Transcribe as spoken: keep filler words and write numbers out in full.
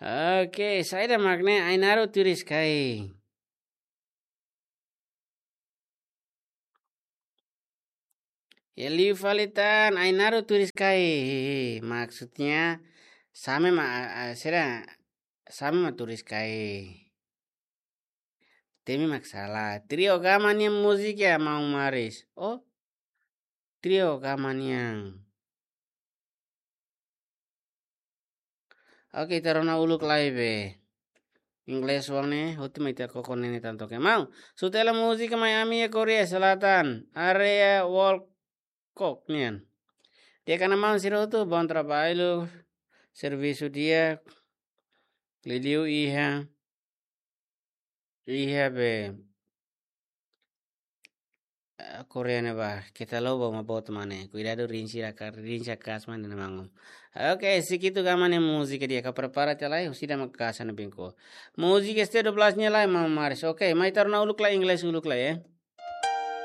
Oke, saida mak ne'e Ainaro turis kai. Ya liu fali tan Ainaro turis kai. Maksudnya same ma, a, a, sira same ma turis kai. Temi mak sala. Trio Gama nian múzika maun Maris. Oh, Trio Gama nian. Oke, ita rona uluk lai be. Inglés oan ne'e, hotu mai ita koko ne'e tan toke. Maun, sutela múzika mai ami iha Korea Selatan, área Wolcott nian. Di'ak ona maun sira hotu, bom trabalho, servisu di'ak, liuliu iha, iha be, eh, Korea ne'ebá, keta lobo ma boot mane. Kuidadu rinsi raka, rinsi kaas mane na mangum. Oke, Sikitu Gama nia múzika di'ak, ka prepara tiha lai, husida mak kaas ona bingko. Múzika S T dua belas nia lai, maun Maris. Oke, mai ita rona uluk lai, Inglés uluk lai, eh.